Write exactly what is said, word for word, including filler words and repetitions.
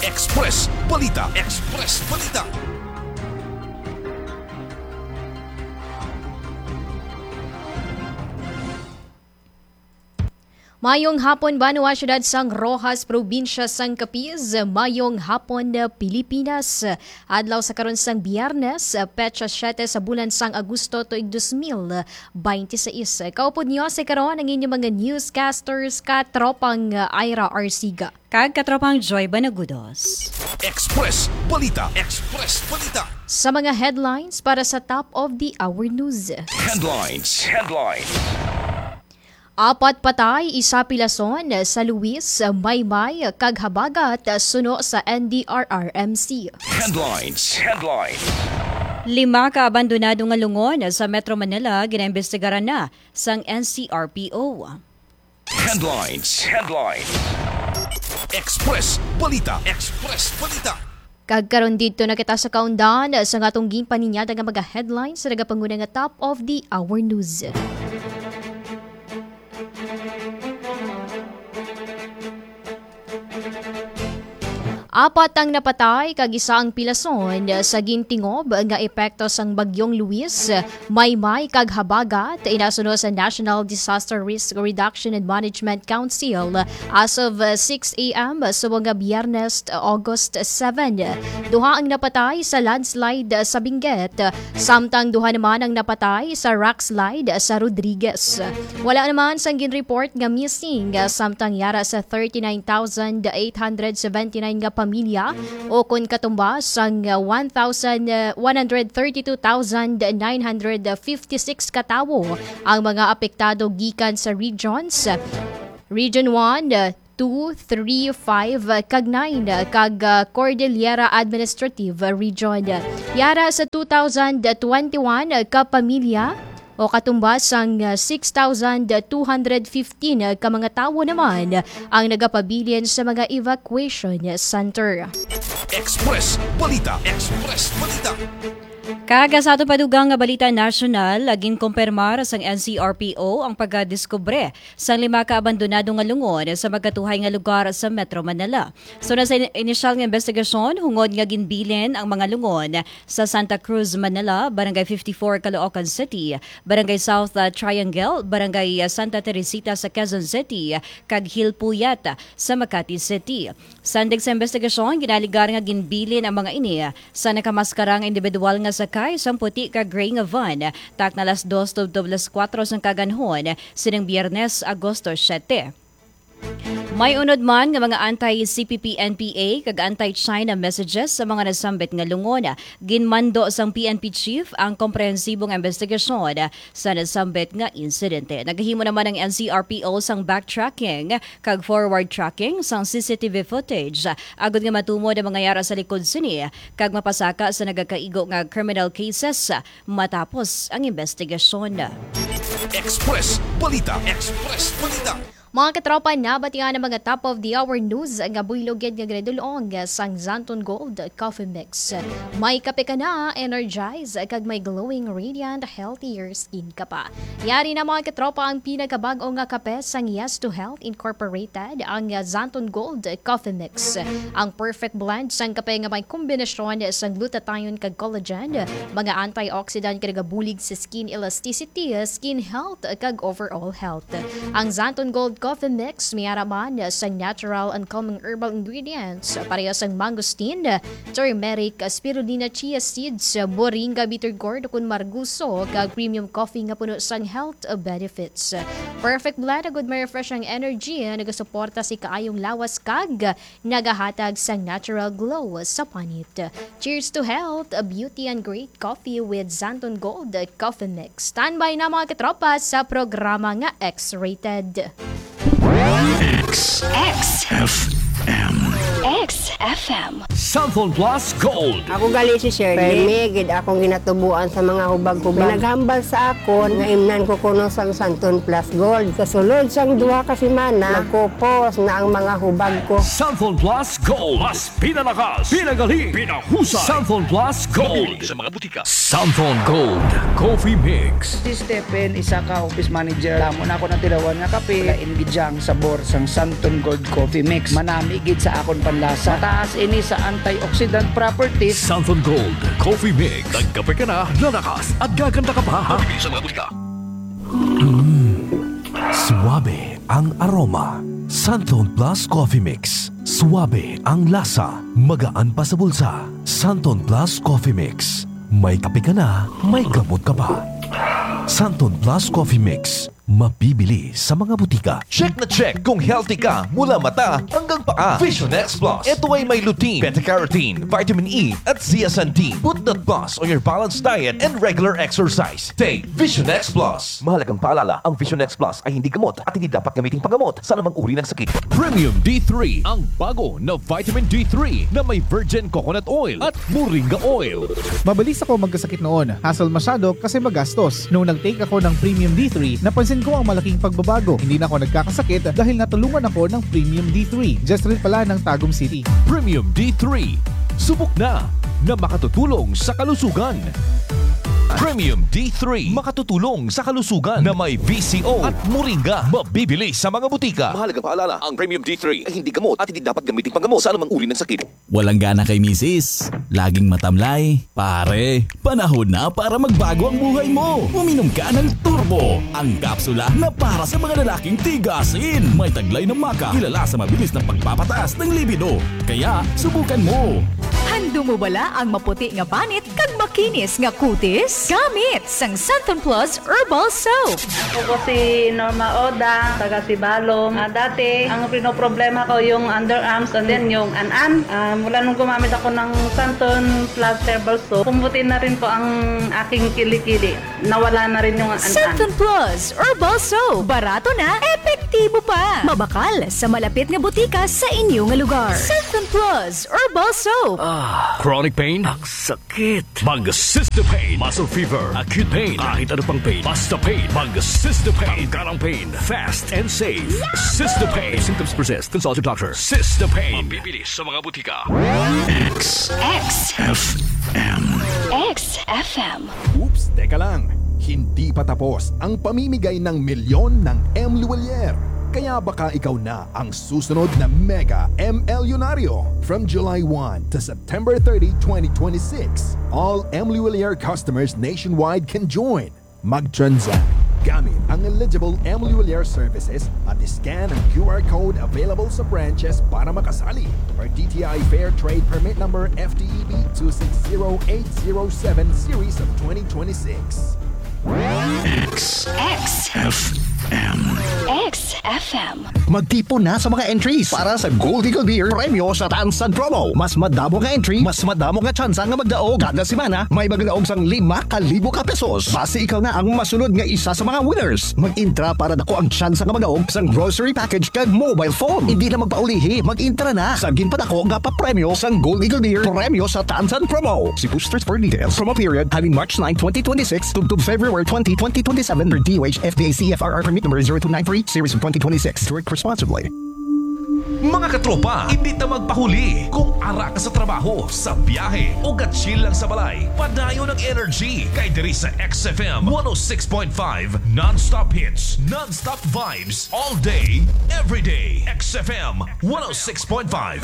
Express Balita. Express Balita. Mayong hapon, banwa, siyudad sang Roxas, probinsya sang Capiz. Mayong hapon, Pilipinas. Adlaw sa karon sang Biyernes, petsa siyete sa bulan sang Agosto, tuig dos mil binte seis. Kaupod niyo sa karon ang inyong mga newscasters, katropang Ira Arsiga. Kag katropang Joy Banagudos. Express Balita. Express Balita. Sa mga headlines para sa top of the hour news. Headlines. Headlines. Apat patay, isa pilason sa Luis, Maymay, kag Habagat suno sa N D R R M C. Headlines. Headlines. Lima ka abandonado nga lungon sa Metro Manila ginaimbestigaran na sang N C R P O. Headlines. Headlines. Express Balita. Express Balita. Kag karon didto na kita sa kaundan sa atong ginpaninyada nga mga headlines sa nagapanguna nga top of the hour news. Apat ang napatay kag isa ang pilason sa gintingob nga epekto sang Bagyong Luis, Maymay kag Habagat, inasuno sa National Disaster Risk Reduction and Management Council as of, uh, six a m subong nga Biyernes, August seven. Duha ang napatay sa landslide sa Benguet, samtang duha naman ang napatay sa rockslide sa Rodriguez. Wala naman sang ginreport nga missing, samtang yara sa thirty-nine thousand eight hundred seventy-nine nga pamilya, o kon katumbas sang one thousand, one hundred thirty-two thousand nine hundred fifty-six ka tawo ang mga apektado gikan sa regions, Region one, two, three, five, kag nine, kag, ah, Cordillera Administrative Region. Yara sa two thousand twenty-one ka pamilya, o katumbas sang, ah, six thousand two hundred fifteen ka mga tawo naman ang nagapabilin sa mga evacuation center. Express Balita. Express Balita. Kag sa aton pa dugang nga balita nasyonal, ginkumpirmar sang N C R P O ang pagkadiskubre sang lima ka abandonado nga lungon sa magkatuhay nga lugar sa Metro Manila. Suno sa in-, inisyal nga investigasyon, hungod nga ginbilin ang mga lungon sa Santa Cruz, Manila, Barangay fifty-four, Caloocan City, Barangay South, ah, Triangle, Barangay, ah, Santa Teresita sa Quezon City, kag Hill Puyat sa Makati City. Sandig sa investigasyon, ginaligar nga ginbilin ang mga ini sa nakamaskara nga individual nga sakay sang puti kag gray nga van, takna alas dos tubtob alas kuwatro sang kaganhon sining Biyernes, Agosto siyete. May unod man nga mga anti-C P P N P A kag anti-China messages sa mga nasambit nga lungon. Ginmando sang P N P chief ang komprehensibong investigasyon sa nasambit nga insidente. Nagahimo naman ang N C R P O sang backtracking kag forward tracking sang C C T V footage, agod nga matumod ang mga yara sa likod sini kag mapasaka sa nagakaigo nga criminal cases matapos ang investigasyon. Express Balita. Express Balita. Mga katropa, nabatian ang mga top of the hour news nga buylog gid nga ginadul-ong sang Xanthone Gold Coffee Mix. May kape ka na, energize, kag may glowing, radiant, healthier skin ka pa. Yari na, mga katropa, ang pinakabag-o nga kape sang Yes to Health Incorporated, ang Xanthone Gold Coffee Mix. Ang perfect blend sang kape nga may kombinasyon sang glutathione kag collagen, mga antioxidant nga nagabulig sa skin elasticity, skin health, kag overall health. Ang Xanthone Gold Coffee Mix may ara man sang natural and calming herbal ingredients, pareho sang mangosteen, turmeric, spirulina, chia seeds, moringa, bitter gourd, ukon margoso, kag premium coffee nga puno sang health benefits. Perfect blend, agud ma-refresh ang energy, nagasuporta sa kaayong lawas, kag nagahatag sang natural glow sa panit. Cheers to health, beauty, and great coffee with Xanthone Gold Coffee Mix. Standby na, mga katropa, sa programa nga X-rated. X. X F M. X F M. Santhon Plus Gold. Ako gali si Shirley. Permi gid akong ginatubuan sa mga hubag-hubag. May naghambal sa akon nga imnan ko kuno sang Santhon Plus Gold. Sa sulod sang duha ka semana, nagkupos na ang mga hubag ko. Santhon Plus Gold. Mas pinalakas, pinagali, pinahusay. Santhon Plus Gold. Mabibili sa mga butika. Santhon Gold Coffee Mix. Si Stephen, isa ka office manager. Damo na ako natilawan nga kape. Lain gid siya ang sabor sang Santon Gold Coffee Mix. Manami gid sa akon panlasa. Mataas ini sa antioxidant properties. Santon Gold Coffee Mix. Nagkape ka na, lalakas at gaganda ka pa. Mabibili sa mga butika. Suabe ang aroma. Santon Plus Coffee Mix. Suabe ang lasa. Magaan pa sa bulsa. Santon Plus Coffee Mix. May kape ka na, may gamot ka pa. Santon Plus Coffee Mix. Mabibili sa mga butika. Check na check kung healthy ka mula mata hanggang paa. Vision X Plus. Ito ay may lutein, beta-carotene, vitamin E, at zeaxanthin. Put that plus on your balanced diet and regular exercise. Take Vision X Plus. Mahalagang paalala, ang Vision X Plus ay hindi gamot at hindi dapat gamiting panggamot sa anumang uri ng sakit. Premium D three, ang bago na vitamin D three na may virgin coconut oil at moringa oil. Mabilis ako magkasakit noon. Hassle masyado kasi magastos. Nung nag-take ako ng Premium D three, napansin ko ang malaking pagbabago. Hindi na ako nagkakasakit dahil natulungan ako ng Premium D three. Just rin pala ng Tagum City. Premium D three. Subok na na makatutulong sa kalusugan. Premium D three, makatutulong sa kalusugan, na may V C O at moringa. Mabibili sa mga butika. Mahalagang paalala, ang Premium D three ay hindi gamot at hindi dapat gamitin panggamot sa anumang uri ng sakit. Walang gana kay misis? Laging matamlay? Pare, panahon na para magbago ang buhay mo. Uminom ka ng Turbo, ang kapsula na para sa mga lalaking tigasin. May taglay na maca, kilala sa mabilis na pagpapataas ng libido. Kaya, subukan mo. Handum mo bala ang maputi nga banit kag makinis nga kutis? Gamit sang Santon Plus Herbal Soap. Ako po si Norma Oda, taga Sibalom. Ah, dati, ang pinoproblema ko yung underarms and then yung an-an. Ah, mula nung gumamit ako ng Santon Plus Herbal Soap, pumuti na rin po ang aking kilikili. Nawala na rin yung an-an. Santon Plus Herbal Soap. Barato na, epektibo pa. Mabakal sa malapit nga butika sa inyo nga lugar. Santon Plus Herbal Soap. Ah, chronic pain? Ang sakit. Mag Sister Pain. Muscle fever, acute pain, kahit ano pang pain. Basta pain. Mag Sister Pain. Tanggal ang pain. Fast and safe. Sister Pain. If symptoms persist, consult your doctor. Sister Pain. Mabibili sa mga butika. X X F M. X F M. Oops, teka lang. Hindi pa tapos ang pamimigay ng milyon ng M Luwalier. Kaya baka ikaw na ang susunod na mega M L Yunaryo. From July one to September thirty, twenty twenty-six, all M Luwalier customers nationwide can join. Mag-transact gamit ang eligible M Luwalier services at scan ang Q R code available sa branches para makasali, or D T I Fair Trade Permit Number F T E B two six zero eight zero seven series of twenty twenty-six. X X F M. X F M. Magtipon na sa mga entries para sa Gold Eagle Beer Premyo sa Tansan Promo. Mas madamo nga entry, mas madamo nga tsansa nga magdaog. Kada semana, may magdaog sang lima ka libo ka pesos. Basi ikaw na ang masunod nga isa sa mga winners. Mag-intra para dako ang tsansa nga magdaog sang grocery package kag mobile phone. Hindi na magpaulihi, mag-intra na sa ginpadako nga papremyo sang Gold Eagle Beer Premyo sa Tansan Promo. See posters for details. Promo period halin March nine, twenty twenty-six, tubtob February twenty, twenty twenty-seven, per D O H F D A C F R R permit number zero two nine three, series of twenty twenty-six. Drink responsibly. Mga katropa, hindi ta magpahuli. Kung ara ka sa trabaho, sa biyahe, o ga-chill lang sa balay, padayon ang energy kay diri sa X F M one oh six point five, non-stop hits, non-stop vibes, all day, every day. X F M one oh six point five.